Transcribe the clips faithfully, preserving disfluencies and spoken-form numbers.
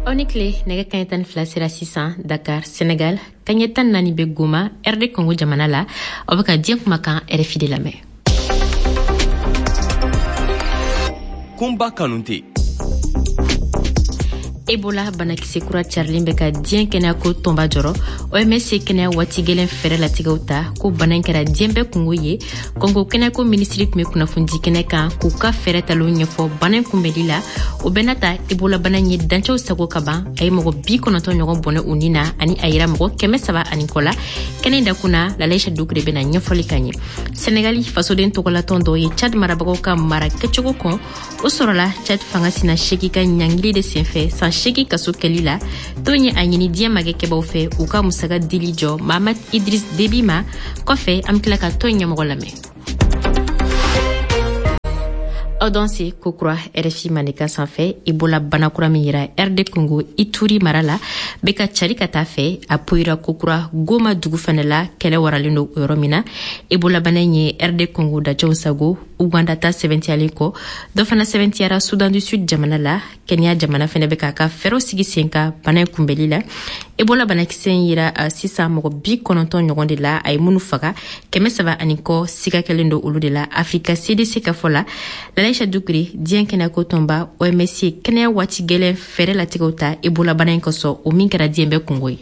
Aw ni tile. Nɛgɛ kaɲɛ tan ni fila sera sisan Dakar, Senegal. Kaɲɛ tan naani bɛ Goma, R D Congo jamana la. Aw bɛ ka diɲɛ kumakan R F I de lamɛn. Kunba Kanute. Ebola banakisɛ kura carilen bɛ ka diɲɛ kɛnɛyako tɔnba jɔrɔ. O M S ye kɛnɛya waati gɛlɛn fɛɛrɛ latigɛw ta ko bana in kɛra diɲɛ bɛɛ kungo ye. Kɔngo kɛnɛyako minisiri tun bɛ kunnafonidi kɛnɛ kan k'u ka fɛɛrɛ talenw ɲɛfɔ bana in kunbɛli la. O bɛɛ n'a ta, Ebola bana in ye dancɛw sago ka ban. A ye mɔgɔ bi kɔnɔntɔn ɲɔgɔn bɔnɛ u ni na ani a yira mɔgɔ kɛmɛ saba ani kɔ la. Kɛnɛ in dakun na, Lalaisha Dukure bɛna ɲɛfɔli ka ɲɛ. Senegali fasoden tɔgɔlatɔn dɔw ye Chad marabagaw ka mara kɛcogo kɔn. O sɔrɔla Chad fanga sina segi ka ɲangili de senfɛ san seegi kaso kɛli la. Tɔn ye a ɲini diɲɛ magɛkɛbaw fɛ u ka musaga dili jɔ Mahamad Idris Debi ma. Kɔfɛ, an be tila ka tɔn ɲɛmɔgɔ lamɛn. Aw danse kokura R F I Mandenkan sanfɛ. Ebola banakura min yira R D Congo Ituri mara la bɛ ka cari ka taa fɛ. A poyira kokura Goma dugu fɛnɛ la, kɛlɛ waralen don o yɔrɔ min na. Ebola bana in ye R D Congo dacɛw sago. Uganda ta sɛbɛntiyalen kɔ, dɔ fana sɛbɛntiyara Sudan du Sud jamana la. Kenya jamana fɛnɛ bɛ k'a ka fɛɛrɛw sigi sen kan bana in kunbɛli la. Ebola banakisɛ in yira uh, sisan mɔgɔ bi kɔnɔntɔn ɲɔgɔn de la. A ye minnu faga, kɛmɛ saba ani kɔ siga kɛlen don olu de la, Afrika C D C ka fɔ la. Lalaisha Dukure, diɲɛ kɛnɛyako tɔnba O M S ye kɛnɛya waati gɛlɛn fɛɛrɛ latigɛw ta Ebola bana in kosɔn, o min kɛra diɲɛ bɛɛ kungo ye.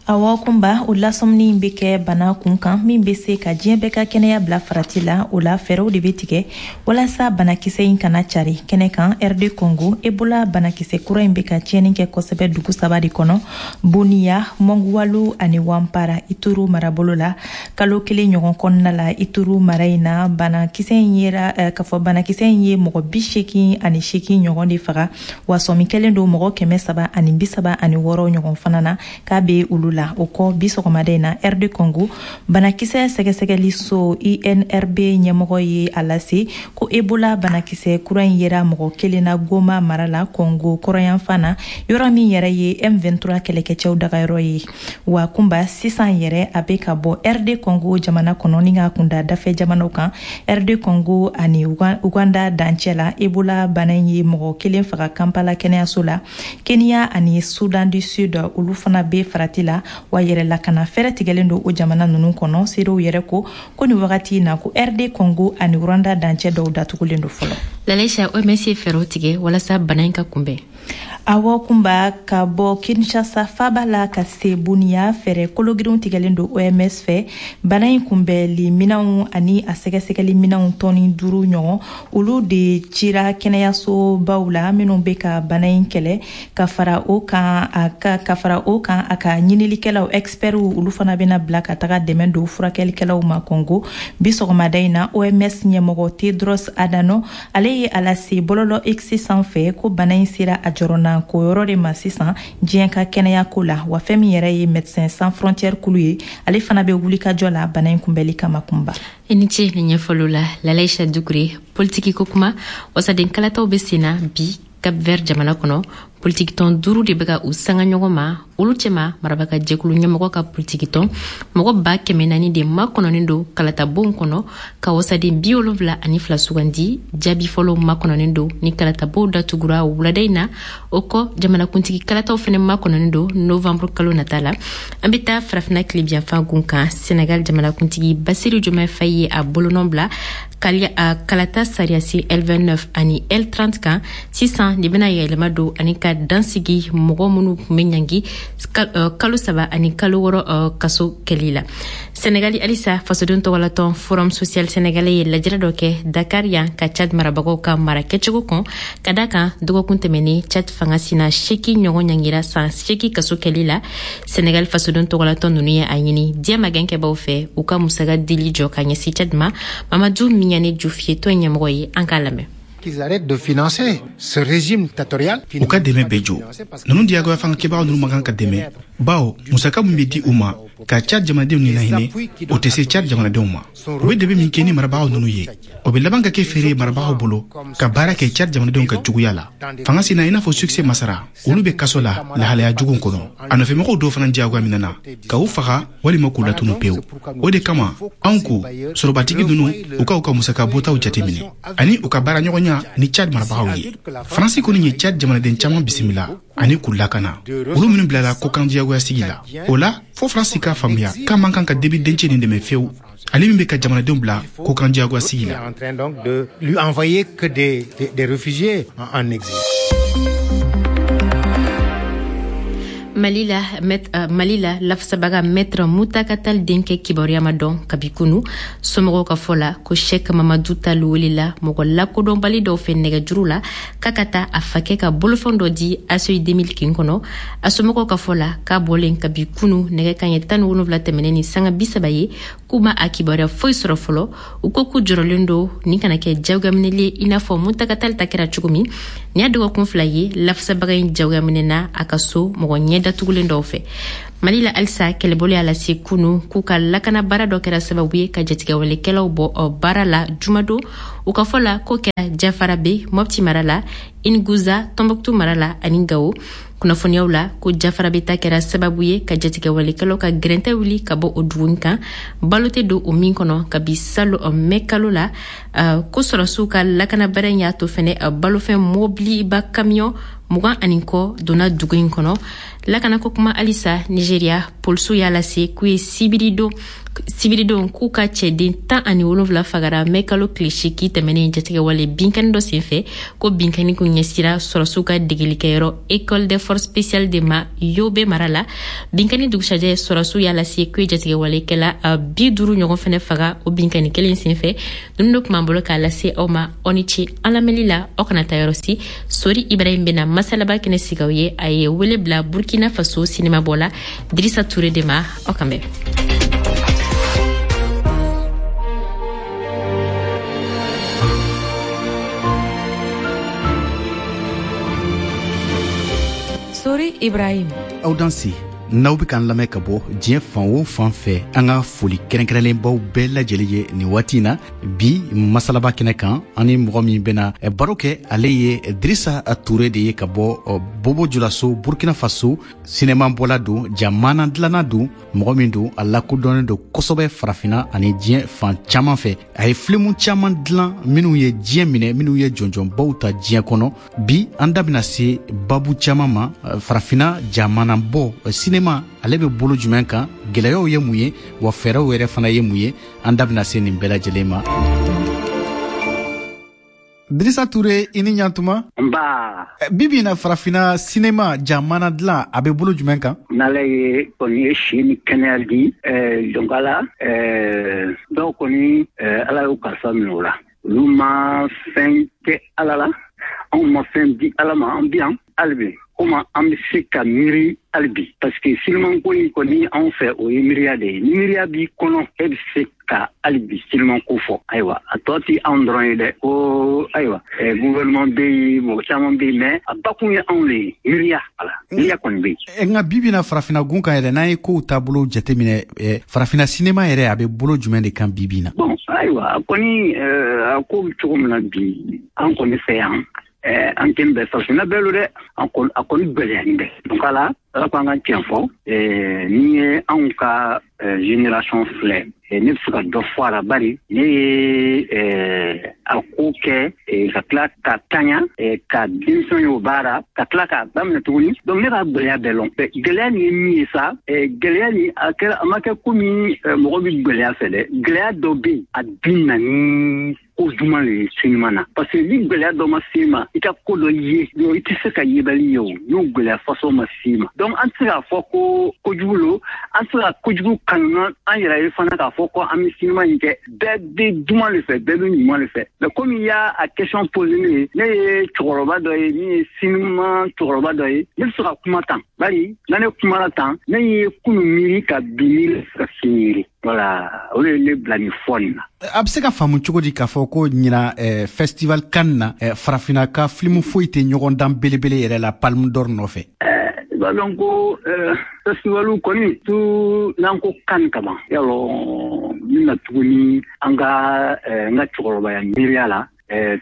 Awɔ Kunba, o lasɔmini bɛ kɛ bana kun kan min bɛ se ka diɲɛ bɛɛ ka kɛnɛya bila farati la. O la, fɛɛrɛw de bɛ tigɛ walasa banakisɛ in kana cari kɛnɛ kan. R D Congo, Ebola banakisɛ kura in bɛ ka tiɲɛni kɛ kosɛbɛ dugu saba de kɔnɔ: Boniya, Mɔnguwalu ani Wanpara, Ituru marabolo la. Kalo kelen ɲɔgɔn kɔnɔna la, Ituru mara in na, banakisɛ in yera eh, k'a fɔ banakisɛ in ye mɔgɔ bi seegin ani seegin ɲɔgɔn de faga, wa sɔmi kɛlen don mɔgɔ kɛmɛ saba ani bi saba ani wɔɔrɔ ɲɔgɔn fana na k'a bɛ olu la. O kɔ, bi sɔgɔmada in na, R D Congo banakisɛ sɛgɛsɛgɛli so I N R B ɲɛmɔgɔ ye a lase ko Ebola banakisɛ kura in yera mɔgɔ kelen na Goma mara la, Congo kɔrɔyanfan na, yɔrɔ min yɛrɛ ye M vingt-trois kɛlɛkɛcɛw dagayɔrɔ ye. Wa Kunba, sisan yɛrɛ a bɛ ka bɔ R D Congo jamana kɔnɔ ni k'a kunda dafɛ jamanaw kan. R D Congo ani Uganda dancɛ la, Ebola bana in ye mɔgɔ kelen faga Kampala kɛnɛyaso la. Kenya ani Sudan du Sud, olu fana bɛ farati la, wa yɛrɛ lakana fɛrɛ tigɛlen don o jamana ninnu kɔnɔ. Seerew yɛrɛ ko ko nin wagati in na, ko R D Congo ani Rwanda dancɛ dɔw datugulen don fɔlɔ. Lalaisha, O M S ye fɛɛrɛw tigɛ walasa bana in ka kunbɛn. Awɔ Kunba, ka bɔ Kinshasa faba la ka se Buniya, fɛɛrɛ kologirinw tigɛlen don O M S fɛ. Bana in kunbɛli minɛnw ani a sɛgɛsɛgɛli minɛnw tɔni duuru ɲɔgɔn, olu de cira kɛnɛyasobaw la minnu bɛ ka bana in kɛlɛ. Ka fara o kan a ka ka fara o kan, a ka ɲinilikɛlaw, experts, olu fana bɛna bila ka taga dɛmɛ don furakɛlikɛlaw ma Congo. Bi sɔgɔmada in na, O M S ɲɛmɔgɔ Tedros Adhanom, ale ye a lase bɔlɔlɔ X sanfɛ ko bana in sera a jɔrɔna ko yɔrɔ de ma sisan diɲɛ ka kɛnɛya ko la. Wa fɛn min yɛrɛ ye Médecins Sans Frontières kulu ye, ale fana bɛ wuli ka jɔ la bana in kunbɛli kama, Kunba. I ni ce ni ɲɛfɔliw la, Lalaisha Dukure. Politiki ko kuma, wasaden kalataw bɛ sen na bi Cap Vert jamana kɔnɔ. Politikitɔn duuru de bɛ ka u sanga ɲɔgɔn ma, olu cɛma marabaga jɛkulu ɲɛmɔgɔ ka politikitɔn. Mɔgɔ ba kɛmɛ naani de makɔnɔnin don kalatabonw kɔnɔ ka wasaden bi wolonfila ani fila sugandi. Jaabi fɔlɔw makɔnɔnin don ni kalatabow datugura wulada in na. O kɔ, jamanakuntigi kalataw fɛnɛ makɔnɔnin don novanburu kalo nata la. An be taa Farafina tilebiyanfan gun kan. Senegal jamanakuntigi Basiru Jomɛ Fayi ye a bolonɔ bila kalata sariyasen L vingt-neuf ani L trente kan. Sisan de bena yɛlɛma don ani ka dansigi mɔgɔ minnu tun bɛ ɲangi kalo saba ani kalo wɔrɔ kaso kɛli la. Senegali halisa, fasoden tɔgɔlatɔn Forum Social Sénégalais ye lajɛrɛ dɔ kɛ Dakar yan ka Chad marabagaw ka mara kɛcogo kɔn, ka da kan dɔgɔkun tɛmɛnen, Chad fanga sina seeki ɲɔgɔn ɲangira san seeki kaso kɛli la. Senegal fasoden tɔgɔlatɔn nunu ye a ɲini diɲɛ magɛnkɛbaw fɛ u ka musaga dili jɔ ka ɲɛsin Chad ma. Mamadu Miɲane Jufiye, tɔn ɲɛmɔgɔ ye, an k'a lamɛn. Qu'ils arrêtent de financer ce régime dictatorial. U ka dɛmɛ bɛɛ jɔ. Ninnu diyagoya fangakɛbagaw ninnu man kan ka dɛmɛ, bawo musaka min bɛ di u ma ka Cad jamanadenw ni lahinɛ, o tɛ se Cad jamanadenw ma. U bɛ dɛmɛ min kɛ ni marabagaw ninnu ye, o bɛ laban ka kɛ feere ye marabagaw bolo ka baara kɛ Cad jamanadenw ka juguya la. Fanga sina i n'a fɔ Succès Masara, olu bɛ kaso la lahalaya jugu kɔnɔ. A nɔfɛmɔgɔw dɔw fana diyagoya minɛna ka u faga walima k'u latunu pewu. O de kama anw ko sɔrɔbatigi ninnu u ka u ka musaka bɔtaw jateminɛ ani u ka baara ɲɔgɔnya ni Cad marabagaw ye. Faransi kɔni ye Cad jamanaden caman bisimila. ani k'u lakana, olu minnu bilala kɔkan diyagoya sigi la. O la, fo Faransi k'a faamuya k'a man kan ka Déby dencɛ nin dɛmɛ fewu, ale min bɛ ka jamanadenw bila kɔkan diyagoya sigi la. En train donc de lui envoyer que des, des, des réfugiés en, en exil. Mali la, met, uh, Mali la lafasabaga Maître Mountaga Tall denkɛ kibaruya ma dɔn kabi kunu. Somɔgɔw ka fɔ la ko Cheikh Mamadou Tall welela mɔgɔ lakodɔnbali dɔw fɛ nɛgɛjuru la k'a ka taa a fakɛ ka bolofɛn dɔ di A C I deux mille kin kɔnɔ. A somɔgɔw ka fɔ la k'a bɔlen kabi kunu nɛgɛ kanɲɛ tan ni wolonwula tɛmɛnen ni sanga bi saba ye, k'u ma a kibaruya foyi sɔrɔ fɔlɔ. U ko k'u jɔrɔlen don nin kana kɛ jagoyaminɛli ye i n'a fɔ Mountaga Tall ta kɛra cogo min. Nin y'a dɔgɔkun fila ye lafasabaga in jagoyaminɛna a ka so mɔgɔ ɲɛ datugulen dɔw fɛ. Mali la halisa, kɛlɛbolo y'a lase kunu k'u ka lakana baara dɔ kɛra sababu ye ka jatigɛwalekɛlaw bɔ baara la jumadon. U ka fɔ la k'o kɛra Jafarabe, Mopti mara la, Inguza, Tombouctou mara la ani Gao. Kunnafoniyaw la ko Jafarabe ta kɛra sababu ye ka jatigɛwalekɛlaw ka gɛrɛntɛ wuli ka bɔ o dugu kan, balo tɛ don o min kɔnɔ kabi salo mɛ kalo la. uh, ko sɔrɔsiw ka lakana baara in y'a to fɛnɛ uh, balofɛn mobiliba kamiyɔn mugan ani kɔ donna dugu in kɔnɔ. Lakanako kuma halisa, Nigeria polisiw y'a lase k'u ye sibiridon sibiridon k'u ka cɛden tan ani wolonwula fagara mɛ kalo tile seegin tɛmɛnen jatigɛwale binkani dɔ senfɛ. Ko binkani kun ɲɛsira sɔrɔsiw ka degelikɛyɔrɔ École des forces spéciales de ma Yobe mara la. Binkani dugusajɛ, sɔrɔsiw y'a lase k'u ye jatigɛwalekɛla bi duuru ɲɔgɔn fɛnɛ faga o binkani kelen senfɛ. Ninnu de tun b'an bolo k'a lase aw ma. Aw ni ce an lamɛnli la, aw kana taa yɔrɔ si. Sori Ibrahim bɛna masalaba kɛnɛ sigi aw ye. A ye wele bila Burkina Faso sinima bɔ la Drissa Touré de ma. Aw kan bɛn. Sori Ibrahim. Aw danse, n'aw bɛ k'an lamɛn ka bɔ diɲɛ fan o fan fɛ, an ka foli kɛrɛnkɛrɛnlen baw bɛɛ lajɛlen ye nin waati in na. Bi masalaba kɛnɛ kan, an ni mɔgɔ min bɛna baro kɛ, ale ye Drissa Touré de ye ka bɔ Bobo Julaso, Burkina Faso. Sinema bɔla don, jamana dilanna don, mɔgɔ min don a lakodɔnnen don kosɛbɛ farafinna ani diɲɛ fan caman fɛ. A ye filimu caman dilan minnu ye diɲɛ minɛ, minnu ye jɔnjɔnbaw ta diɲɛ kɔnɔ. Bi an da bɛna se babu caman ma, farafinna jamana bɔ sinema ale bɛ bolo jumɛn kan, gɛlɛyaw ye mun ye, wa fɛɛrɛw yɛrɛ fana ye mun ye. An da bɛna se nin bɛɛ lajɛlen ma. Drissa Touré, i ni ɲantuma. Nba. Bi bi in na farafinna sinema jamana dilan a bɛ bolo jumɛn kan? N'Ala ye kɔni ye si ni kɛnɛya di, donc ala dɔw kɔni Ala y'u kalifa minɛ o la. Olu ma fɛn kɛ Ala la, anw ma fɛn di Ala ma, an bi yan hali bi. Komi an bɛ se ka miiri hali bi, parce que silimanko in kɔni anw fɛ o ye miiriya de ye. Ni miiriya b'i kɔnɔ, e bɛ se ka hali bi silimanko fɔ. Ayiwa, a tɔ ti anw dɔrɔn ye dɛ. Ko ayiwa, gouvernement bɛ yen, mɔgɔ caman bɛ yen, mais a bakun ye anw de ye, miiriya. Ala, miiriya kɔni bɛ yen. Nka bi bi na farafinna gun kan yɛrɛ, n'an ye kow taabolo jateminɛ, farafinna sinema yɛrɛ a bɛ bolo jumɛn de kan bi bi na? Bon, ayiwa, a kɔni a ko bɛ cogo min na bi, an kɔni fɛ yan, an tɛ bɛn farafinna bɛɛ lo dɛ, a kɔni gɛlɛyani bɛ. Donc ala ala ko an ka tiɲɛ fɔ, ni ye anw ka génération filɛ, ne bɛ se ka dɔ fɔ a la, bari ne ye a ko kɛ ka tila ka taɲa ka denmisɛn y'o baara ka tila k'a daminɛ tuguni. Donc ne b'a gɛlɛya bɛɛ lɔn. Gɛlɛya nin ye min ye sa, gɛlɛya nin a kɛra a ma kɛ komi mɔgɔ bɛ gɛlɛya fɛ dɛ. Gɛlɛya dɔ bɛ yen, a bi na ni ko juman le ye sinima na, parce que ni gɛlɛya dɔ ma s'i ma, i ka ko dɔ ye, i tɛ se ka yebali ye o, n'o gɛlɛya façon ma s'i ma. Donc an tɛ se k'a fɔ ko kojugu lo, an tɛ se ka kojugu kanu an yɛrɛ ye fana k'a fɔ ko an bɛ sinima in kɛ. Bɛɛ bɛ duman le fɛ, bɛɛ bɛ ɲuman le fɛ. Mais komi i y'a a question posé ne ye, ne ye cɛkɔrɔba dɔ ye min ye sinima cɛkɔrɔba dɔ ye, ne bɛ se ka kuma tan, bari na ne kumana tan, ne ye kunu miiri ka bi miiri ka sini miiri. Voilà, o de ye ne bila nin fɔ nin na. A bɛ se ka faamu cogo di k'a fɔ ko ɲina eh, festival Cannes na eh, farafinna ka filimu foyi tɛ ɲɔgɔn dan belebele yɛrɛ la Palme d'Or nɔfɛ? I b'a dɔn ko festivalu kɔni tu n'an ko Cannes kaban, yalɔ min na tuguni an ka n ka cɛkɔrɔbaya miiriya la,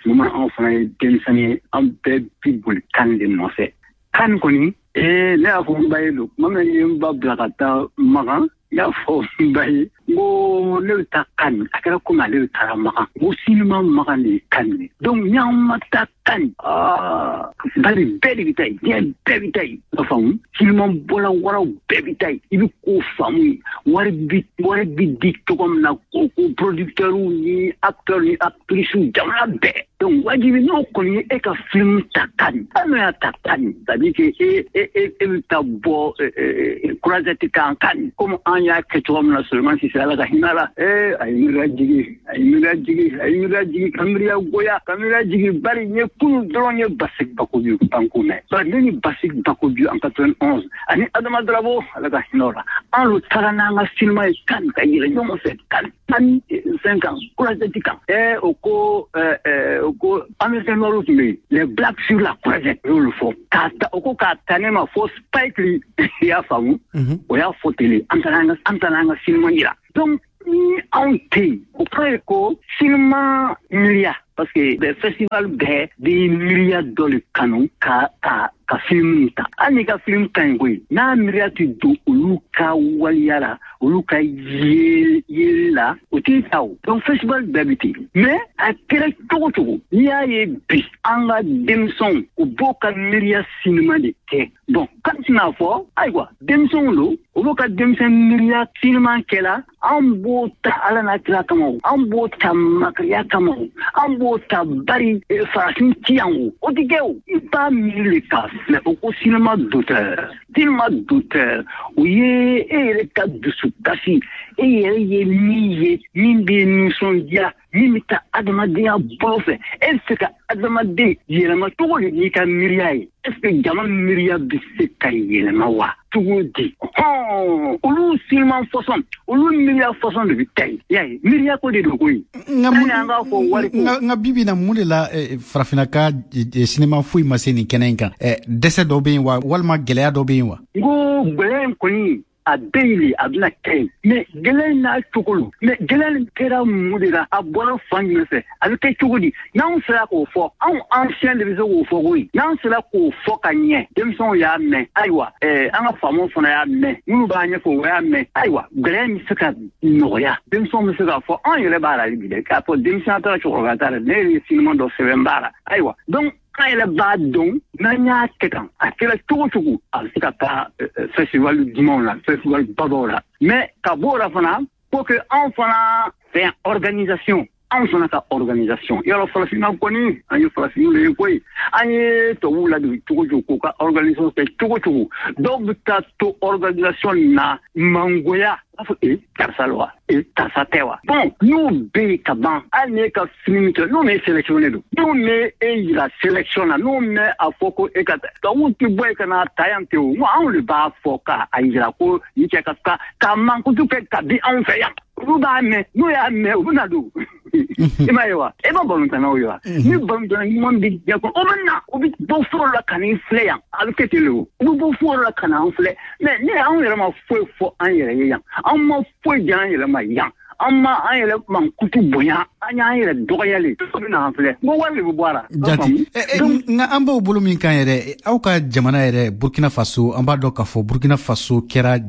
tuma anw fana ye denmisɛnnin ye, an bɛɛ bi boli Cannes de nɔfɛ. Cannes kɔni, ne y'a fɔ n ba ye don tuma min ye n ba bila ka taa Makan, n y'a fɔ n ba ye n ko ne bɛ taa Cannes, a kɛra komi ale bɛ taara Makan, n ko sinima Makan de ye Cannes ye. Donc n'an ma taa Cannes aa bari bɛɛ de bɛ taa yen, diɲɛ bɛɛ bɛ taa yen. I b'a faamu, sinima bɔla waraw bɛɛ bɛ taa yen. I bɛ ko faamu, wari bi wari bi di cogo min na ko ko producteurs ni acteurs ni actrices jamana bɛɛ. Donc wajibi n'o kɔni ye e ka film ta Cannes, hali n'o y'a ta Cannes, c'est à dire que e e e e bɛ taa bɔ croisette kan Cannes, comme an y'a kɛ cogo min na Souleymane Cissé Ala ka hinɛ la. Ee a ye miiriya jigi, a ye miiriya jigi, a ye miiriya jigi ka miiriya goya, ka miiriya jigi. Bari n ye kunun dɔrɔn ye Basik Bakobi banko mɛn. Bari ne ni Basik Bakobi en quatre-vingt-onze ani Adama Drabo Ala ka hinɛ o la, an lu taara n'an ka sinima ye Cannes ka yɛlɛ ɲɔgɔn fɛ Cannes tan fɛn kan croisette kan. Ee o ko ɛɛ o ko américain noir tun bɛ yen, les blacks sur la croisette, o y'olu fɔ k'a ta, o ko k'a ta ne ma fo Spike Lee, i y'a faamu, o y'a fɔ tele, an taara an ka an taara an ka sinima yira. Donc ni anw tɛ yen, o kɔrɔ ye ko sinima miiriya, parce que bɛɛ festival bɛɛ bɛ miiriya dɔ de kanu ka ka ka film ta. Hali n'i ka film ka ɲi koyi, n'a miiriya tɛ don olu ka waliya la, olu ka yeli yeli la, o t'i ta o. Donc festival bɛɛ bɛ ten. Mais a kɛra cogo cogo, n'i y'a ye bi an ka denmisɛnw u b'o ka miiriya sinima de kɛ. Bon kan tɛna fɔ ayiwa denmisɛnw don, u b'o ka denmisɛn miiriya sinima kɛla, an b'o ta Ala n'a kira kama o, an b'o ta makariya kama o, an b'o ta bari farafin ti yan o, o tɛ kɛ o. I b'a miiri de k'a filɛ o ko sinima d'auteur, sinima d'auteur o ye e yɛrɛ ka dusukasi, e yɛrɛ ye min ye min bɛ nisɔndiya, min bɛ taa adamadenya bolo fɛ. E bɛ se ka adamaden yɛlɛma cogo di n'i ka miiriya ye? Est ce que jama miiriya bɛ se ka yɛlɛma wa cogo di? Hɔn olu sinima fɔsɔn, olu miiriya fɔsɔn de bɛ taa yen. I y'a ye, miiriya ko de don koyi. Nka mun an k'a fɔ wari ko. Nka bi bi in na mun de la farafinna ka sinima foyi ma se nin kɛnɛ in kan? Dɛsɛ dɔ bɛ yen wa, walima gɛlɛya dɔ bɛ yen wa? N ko gɛlɛya in kɔni a bɛ yen de, a bɛna kɛ yen. Mais gɛlɛya in n'a cogo lo. Mais gɛlɛya in kɛra mun de la, a bɔra fan jumɛn fɛ, a bɛ kɛ cogo di? N'anw sera k'o fɔ, anw ancien de bɛ se k'o fɔ koyi. N'an sera k'o fɔ ka ɲɛ, denmisɛnw y'a mɛn, ayiwa ɛɛ an ka faamaw fana y'a mɛn, minnu b'a ɲɛfɔ o y'a mɛn, ayiwa gɛlɛya in bɛ se ka nɔgɔya. Denmisɛnw bɛ se k'a fɔ, anw yɛrɛ b'a la hali bi dɛ, k'a fɔ denmisɛnya t'a la, cɛkɔrɔba t'a la, ne yɛrɛ ye sinima dɔ sɛbɛn b'a la. Ayiwa donc an yɛrɛ b'a dɔn n'an y'a kɛ tan, a kɛra cogo cogo, a bɛ se ka taa festival dumanw la, festival babaw la. Mais ka b'o la fana, faut que anw fana fɛ yan organisation, anw fana ka organisation. Yɔrɔ farafinna kɔni, an ye farafinw de ye koyi. An ye tubabuw ladon cogo cogo k'u ka organisation kɛ cogo cogo, dɔw bɛ taa to organisation na mangoya, b'a fɔ e karisa la wa, e karisa tɛ wa. Bon n'o bɛ yen ka ban, hali n'e ka film kɛ, n'o m'e sélectionné don, n'o m'e yira sélection na, n'o mɛ a fɔ ko e ka tubabuw tɛ bɔ yen ka n'a ta yan ten o, n ko anw de b'a fɔ k'a yira ko nin cɛ ka ka k'a mankutu kɛ ka di anw fɛ yan. Olu b'a mɛn, n'u y'a mɛn u bɛ na don. I m'a ye wa, e ma balontannaw ye wa? Ni balontanna ɲuman bɛ diɲɛ kɔnɔ, o bɛ na, o bɛ bɔ foro la ka n'i filɛ yan, a bɛ kɛ ten de o. U bɛ bɔ foro la ka n'an filɛ, mais ne anw yɛrɛ ma foyi fɔ an yɛrɛ ye yan, an ma foyi di an yɛrɛ ma yan, an ma an yɛrɛ mankutu bonya, an y'an yɛrɛ dɔgɔyali, o bɛ n'an filɛ, n ko wari de bɛ bɔ a la. Jati, nka an b'o bolo min kan yɛrɛ, aw ka jamana yɛrɛ Burkina Faso, an b'a dɔn k'a fɔ Burkina Faso kɛra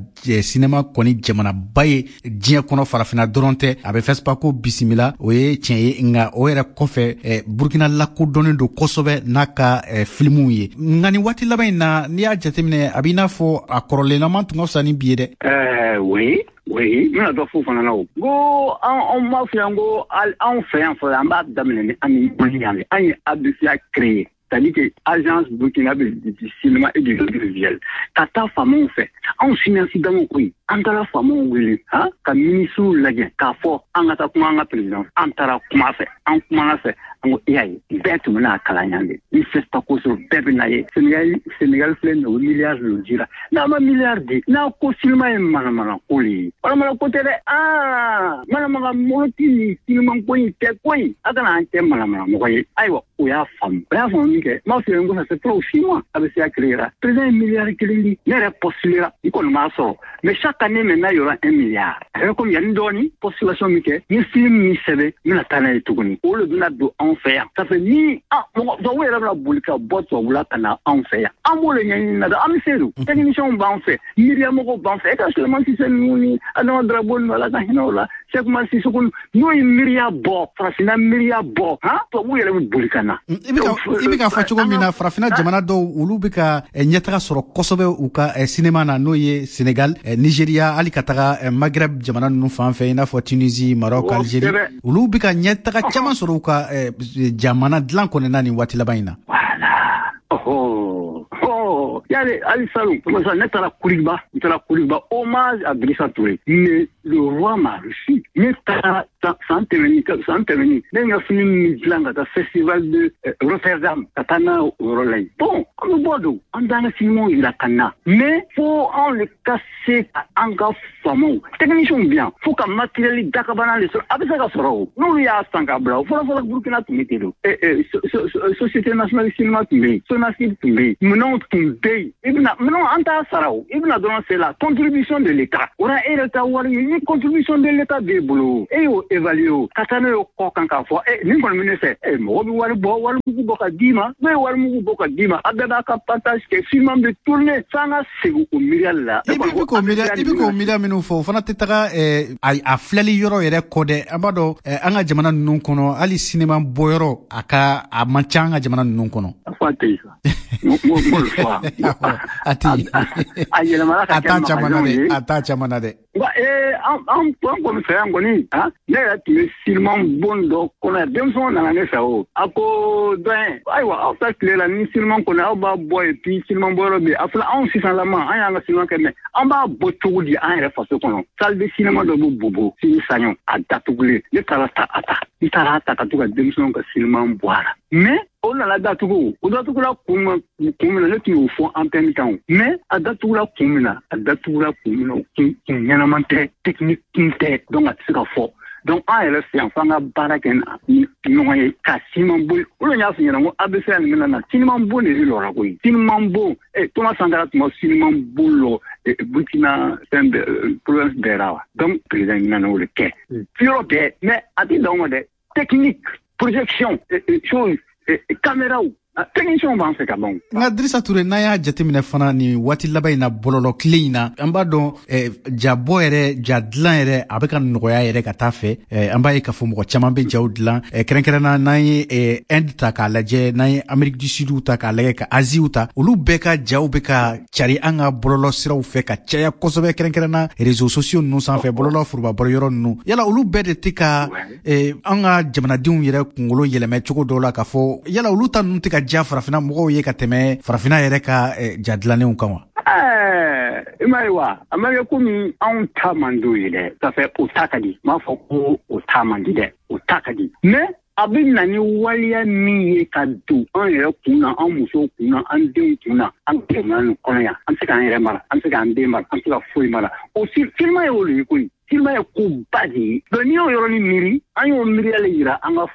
sinema kɔni jamanaba ye diɲɛ kɔnɔ, farafinna dɔrɔn tɛ. A bɛ FESPACO bisimila, o ye tiɲɛ ye, nka o yɛrɛ kɔfɛ Burkina lakodɔnnen don kosɛbɛ n'a ka filimuw ye. Nka nin waati laban in na, n'i y'a jateminɛ, a b'i n'a fɔ a kɔrɔlenama tun ka fisa ni bi ye dɛ. Ɛɛ oui. Oui, n bɛna dɔ f'o fana na o. N ko anw b'a fɔ yan ko anw fɛ yan fɔlɔ, an b'a daminɛ ni an ni Mali yan de. An ye A B C A créé, c'est-à-dire que Agence burkinabé du cinéma et du audiovisuel, ka taa faamaw fɛ, anw cinéaste damaw koyi, an taara faamaw wele, han, ka ministres lajɛ k'a fɔ an ka taa kuma an ka président. An taara kuma fɛ, an kumana fɛ, an ko e y'a ye, bɛɛ tun bɛna kalan yan de. Ni FESPACO sɔrɔ, bɛɛ bɛ na ye. Sénégal, Sénégal filɛ nin ye, o milliard de dira. N'a ma milliard di, n'a ko sinima ye manamana ko de ye. Manamana ko tɛ dɛ, aa manamana mɔgɔ ti nin sinima ko in tɛ koyi, a kana an kɛ manamana mɔgɔ ye. Ayiwa, o y'a faamu, o y'a faamu min kɛ, n b'a f'i ye n ko ça fait trop six mois a bɛ se a créer la. Président ye milliard kelen di, ne yɛrɛ postulera, n kɔni m'a sɔrɔ. Mais chaque année maintenant, il y aura un milliard. A bɛ komi yanni dɔɔni postulation min kɛ, n ye film min sɛbɛn, n bɛna taa n'a ye tuguni. O de bɛna don anw anw fɛ yan. Ça fait ni mɔgɔ tubabu yɛrɛ bɛna boli ka bɔ tubabula ka na anw fɛ yan. An b'o de ɲɛɲini na dɛ, an bɛ se don. Techniciens b'an fɛ, miiriyamɔgɔw b'an fɛ. E ka Sulemani Sise ninnu ni Adama Darabo ninnu, Ala ka hinɛ o la, Cheikh Umar Sissoko n'o ye miiriya bɔ, farafinna miiriya bɔ, han, tubabu yɛrɛ bɛ boli ka na. I bɛ ka i bɛ k'a fɔ cogo min na, farafinna jamana dɔw olu bɛ ka ɲɛtaga sɔrɔ kosɛbɛ u ka sinema na, n'o ye Senegal, Nigeria, hali ka taga Maghreb jamana ninnu fan fɛ, i n'a fɔ Tunisie, Maroc, Algérie, olu bɛ ka ɲɛtaga caman sɔrɔ u ka jamana dilan kɔnɔna na nin waati laban in na. Voilà. Oh, oh, yali hali salon, ne taara Kuriba, n taara Kuriba, hommage à Drissa Touré. Mais le roi m'a reçu. Ne taara san tɛmɛni, san tɛmɛni, ne ye n ka fini min dilan ka taa festival de Rotterdam, ka taa n'a o yɔrɔ la yen. Bon, an bɛ bɔ don, an b'an ka sinimanw yira ka na. Mais fo anw de ka se ka an ka faamaw, techniciens bɛ yan, fo ka matériel dakabana de sɔrɔ. A bɛ se ka sɔrɔ o. N'olu y'a san ka bila o, fɔlɔ fɔlɔ Burkina tun bɛ ten don. Société nationale cinéma tun bɛ yen, Sonacine tun bɛ yen, minɛnw tun bɛ yen. I bɛna minɛnw an t'a sara o, i bɛna dɔrɔn c'est la contribution de l'État. O la e yɛrɛ ta wari ye, ni contribution de l'État b'e bolo, e y'o évaluer o, ka taa n'o ye kɔ kan k'a fɔ e nin kɔni bɛ ne fɛ, e mɔgɔ bɛ wari bɔ, wari mugu bɔ ka d'i ma, n'o ye wari mugu bɔ ka d'i ma, a bɛɛ b'a ka partage kɛ, film bɛ tourner f'an ka segin o miiriya la. I bɛ k'o miiriya, i bɛ k'o miiriya minnu fɔ, o fana tɛ taga a filɛli yɔrɔ yɛrɛ kɔ dɛ. An b'a dɔn an ka jamana ninnu kɔnɔ, hali sinema bɔyɔrɔ a ka a man ca an ka jamana ninnu kɔnɔ. A fɔ a tɛ yen sa. N fɔ a tɛ yen. A yɛlɛmana ka kɛ magasinw ye. A t'a caman na dɛ. Wa ee an an kɔni fɛ yan kɔni, han, ne yɛrɛ tun bɛ sinema bon dɔ kɔnɔ yan, denmisɛnw nana ne fɛ o. A ko doyen, ayiwa aw ta tile la ni sinema kɔni aw b'a bɔ yen puis sinema bɔyɔrɔ bɛ yen. A filɛ anw sisanlama an y'an ka sinema kɛ, mais an b'a bɔ cogo di an yɛrɛ faso kɔnɔ? Salle de cinéma dɔ bɛ Bobo, Sini Saɲɔ, a datugulen. Ne taara ta a ta. N taara ta ka to ka denmisɛnw ka sinema bɔ a la. Mais o nana datugu, o datugula kun kun min na, ne tun y'o fɔ antenne kan o. Mais a datugula kun min na, a datugula kun min na, o kun kun ɲɛnama tɛ, technique kun tɛ, donc a tɛ se ka fɔ. Donc an yɛrɛ fɛ yan, f'an ka baara kɛ ni ɲɔgɔn ye ka siman bon. Olu y'a f'i ɲɛna ko A B C nin bɛna na, siniman bon de bɛ lɔra koyi. Siniman bon, eh, Thomas Sankara tun ma siniman bon lɔ Burkina fɛn bɛɛ, province bɛɛ la wa. Donc président nana o de kɛ yɔrɔ bɛɛ, mais a tɛ dan o ma dɛ. Technique, projection, chose, caméra, technicien b'an fɛ ka ban. Nka Drissa Touré, n'an y'a jateminɛ fana nin waati laban in na, bɔlɔlɔ tile in na, an b'a dɔn jabɔ yɛrɛ, ja dilan yɛrɛ a bɛ ka nɔgɔya yɛrɛ ka taa fɛ. An b'a ye k'a fɔ mɔgɔ caman bɛ jaw dilan, kɛrɛnkɛrɛnna n'an ye Inde ta k'a lajɛ, n'an ye Amérique du Sud ta k'a lajɛ, ka Asie ta, olu bɛɛ ka jaw bɛ ka cari an ka bɔlɔlɔ siraw fɛ ka caya kosɛbɛ, kɛrɛnkɛrɛnna réseaux sociaux ninnu sanfɛ, bɔlɔlɔ foroba yɔrɔ ninnu. Yala olu bɛɛ de tɛ ka an ka jamanadenw yɛrɛ kunkolo yɛlɛmɛ cogo dɔw la k'a fɔ yala olu ta ninnu tɛ ka ja farafinna mɔgɔw ye ka tɛmɛ farafinna yɛrɛ ka ja dilannenw kan wa? Ɛɛ, i m'a ye wa, a ma kɛ komi anw ta man d'o ye dɛ. Ça fait o ta ka di, n m'a fɔ ko o ta man di dɛ, o ta ka di. Mais a bɛ na ni waleya min ye ka don an yɛrɛ kun na, an musow kun na, an denw kun na, an jamana nin kɔnɔ yan, an tɛ se k'an yɛrɛ mara, an tɛ se k'an den mara, an tɛ se ka foyi mara. O sinima ye o de ye koyi. Sinima ye koba de ye. Donc n'i y'o yɔrɔnin miiri, an y'o miiriya de yira an ka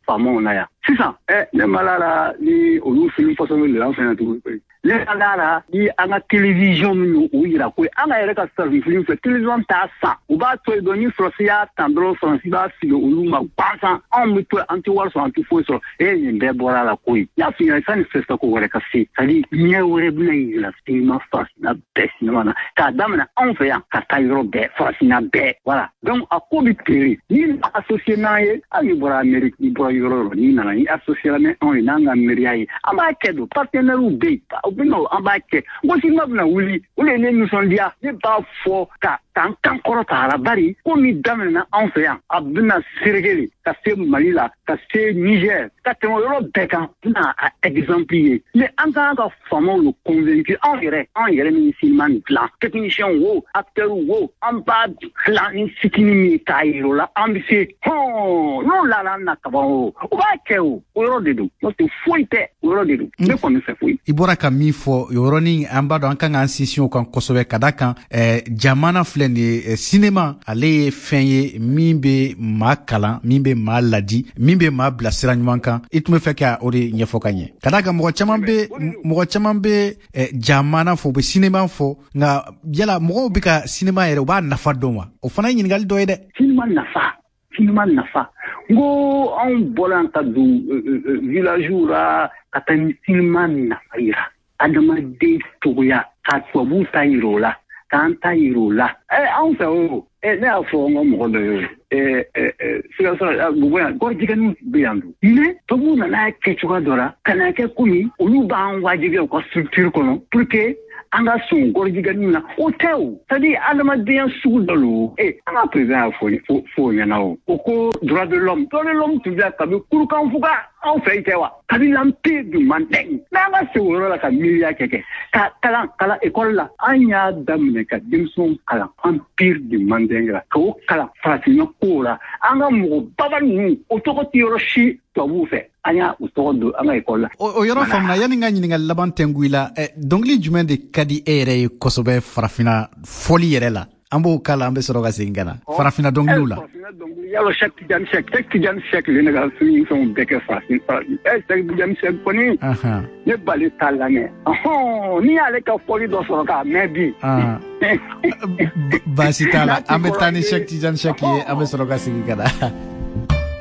faamaw na yan. Sisan, ɛ ne ma la la ni olu film façon bɛ an fɛ yan tuguni koyi. Ne ma la la ni an ka télévision min y'o yira koyi. An ka yɛrɛ ka farafin film fɛ, télévision t'a san. U b'a to yen dɔrɔn, ni Faransi y'a tan dɔrɔn, Faransi b'a fili olu ma gansan. Anw bɛ to yen, an tɛ wari sɔrɔ, an tɛ foyi sɔrɔ. E nin bɛɛ bɔra a la koyi. N y'a f'i ɲɛna sanni fɛn ko wɛrɛ ka se. C'est à dire ɲɛ wɛrɛ bɛna yira sinima farafinna bɛɛ sinima na. K'a daminɛ anw fɛ yan ka taa yɔrɔ bɛɛ, farafinna bɛɛ. Voilà. Donc a ko bɛ tere. N'i associé n'an ye, hali n'i bɔra Amérique, n'i bɔra yɔrɔ o yɔrɔ, n'i nana n'i associé ni anw ye, n'an ka miiriya ye, an b'a kɛ don. Partenaires bɛ yen, u bɛ na, an b'a kɛ. N ko sinima bɛna wuli, o de ye ne nisɔndiya. Ne b'a fɔ ka k'an kan kɔrɔta a la, bari ko min daminɛna anw fɛ yan, a bɛna Senegali, ka se Mali la, ka se Niger, ka tɛmɛ yɔrɔ bɛɛ kan, bɛna a exemple ye. Mais an ka kan ka faamaw le convaincre, anw yɛrɛ, anw yɛrɛ min sinima nin dilan, technicien wo, acteur wo, an b'a dilan ni fitinin min ye k'a yir'u la, an bɛ se hɔn n'o lala an na kaban o, o b'a kɛ o, o yɔrɔ de don. N'o tɛ foyi tɛ, o yɔrɔ de don. Ne kɔni fɛ foyi. I bɔra ka min fɔ o yɔrɔnin, an b'a dɔn an kan k'an sinsin o kan kosɛbɛ, ka da kan jamana filɛ nin ye, sinema ale ye fɛn ye min bɛ maa kalan, min bɛ maa ladi, min bɛ maa bila sira ɲuman kan. I tun bɛ fɛ ka o de ɲɛfɔ ka ɲɛ, ka da kan mɔgɔ caman bɛ mɔgɔ caman bɛ jamana fɔ, u bɛ sinema fɔ, nka yala mɔgɔw bɛ ka sinema yɛrɛ u b'a nafa dɔn wa? O fana ye ɲininkali dɔ ye dɛ. Sinema nafa, sinema Sinima nafa n ko anw bɔra ka don village la ka taa ni sinima nafa yira adamaden cogoya ka tubabuw ta yira o la k'an ta yira o la. Ɛ anw fɛ o ɛ ne y'a fɔ n ka mɔgɔ dɔ ye ɛ ɛ Sikaso Bobo yan gɔrɔjigɛniw bɛ yan dun mais tubabuw nana kɛ cogoya dɔ la ka na kɛ komi olu b'an wajibiya u ka structure kɔnɔ pour que an ka sɔn gɔrɔjigɛniw na. O tɛ o, c'est à dire adamadenya sugu dɔ lo. E an ka président y'a fɔ fɔ o ɲɛna o o ko droit de l'homme droit de l'homme tun bɛ kabi kurukanfuga anw fɛ yen tɛ wa kabi l'empire du Mandeng. Mais an ka segin o yɔrɔ la ka miiriya kɛ kɛ ka kalan kalan école la an y'a daminɛ ka denmisɛnw kalan empire du Mandeng la k'o kalan farafinna kow la. An ka mɔgɔ baba ninnu o tɔgɔ tɛ yɔrɔ si tubabuw fɛ, an y'a u tɔgɔ don an ka école la. O yɔrɔ faamuna. Yanni n ka ɲininkali laban tɛnku i la, dɔnkili jumɛn de ka di e yɛrɛ ye kosɛbɛ farafinna fɔli yɛrɛ la? An b'o k'a la, an bɛ sɔrɔ ka segin ka na farafinna dɔnkiliw la. Yalo Cheikh Tidiane Seck Cheikh Tidiane Seck le ne ka fɛn fɛnw bɛɛ kɛ farafin farafin ɛ Cheikh Tidiane Seck kɔni ne bali t'a lamɛn ɔhɔn n'i y'ale ka fɔli dɔ sɔrɔ k'a mɛn bi. Baasi t'a la, an bɛ taa ni Cheikh Tidiane Seck ye, an bɛ sɔrɔ ka segin ka na.